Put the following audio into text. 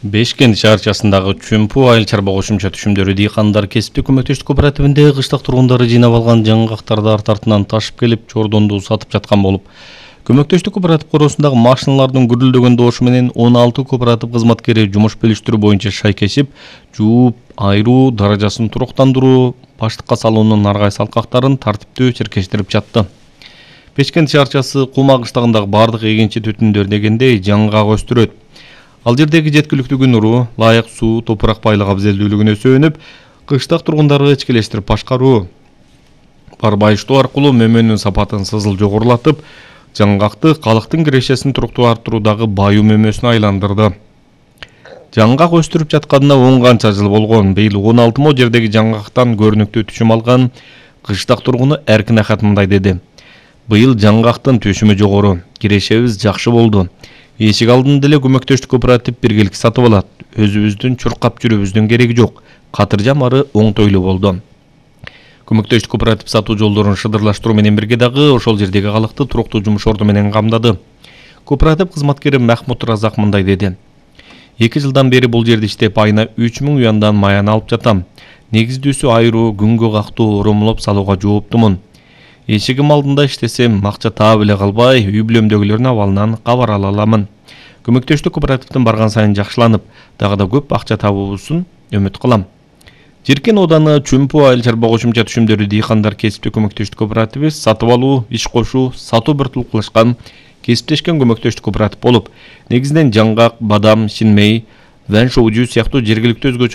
Бешкент шаарчасындагы Чүмпу айыл чарба кошумча түшүмдөрү дыйкандар кесиптик көмөктөштүк кооперативинде кыштак тургундары жыйнап алган жаңгактарды арт артынан ташып келип чордонду сатып жаткан болуп, көмөктөштүк кооператив коросундагы машиналардын гүрүлдөгөн добушу менен 16 кооператив кызматкери жумуш бөлүштүрүү боюнча шайкешип, жууп, айыруу, даражасын туруктандыруу, баштыкка салуунун наргай салкактарын тартиптүү черкештирип жатты. Бешкент шаарчасы Кума кыштагындагы бардык эгинчи түтүндөр дегендей жаңгак өстүрөт. Ал жердеги жеткиликтүү күн нуру, ылайык суу, топурак байлыгы абзелдүүлүгүнө сүйөнүп, кыштак тургундарды ичкилештирип башкаруу, бар байыштоо аркылуу мөмөнүн сапатын сызыл жогорулатып, жаңгакты калктын кирешесин туруктуу арттыруудагы баюу мөмөсүнө айландырды. Жаңгак өстүрүп жатканына 10 канча жыл болгон. Быйыл 16 мо жердеги жаңгактан көрүнүктүү түшүм алган кыштак тургуну Эркин Ахат мындай деди. Быйыл жаңгактын түшүмү жогору, кирешебиз жакшы болду. Эшик алдында эле көмөктөштүк кооператив биргелик сатып алат. Өзүбүздүн чуркап жүрүүбүздүн кереги жок. Катыржам ары оңтойлуу болду. Көмөктөштүк кооператив сатуу жолдорун шыдырлаштыруу менен бирге дагы ошол жердеги калкты туруктуу жумуш орду менен камдады. Кооператив кызматкери Махмут Разак мындай деди. 2 жылдан бери бул жерде иштеп айына 3000 уяндан маян алып жатам. Негиздүүсү айыруу, күнгө кактуу, оромолоп салууга жооптумун. Эшигим алдында иштесем, акча таап эле калбай, үй бүлөмдөгүлөрдүн абалынан кабар ала аламын. Көмөктөштүк кооперативдин барган сайын жакшыланып, дагы да көп акча табуусун үмүт кылам. Жиркен ооданы Чүмпу айыл чарба кошумча түшүмдөрү дыйкандар кесиптик көмөктөштүк кооперативи сатып алуу, иш кошуу, сатуу биртиликташкан кесиптешкен көмөктөштүк кооператив болуп, негизинен жаңгак, бадам, шинмей, вен шоужу сыяктуу жергиликтүү өзгөчө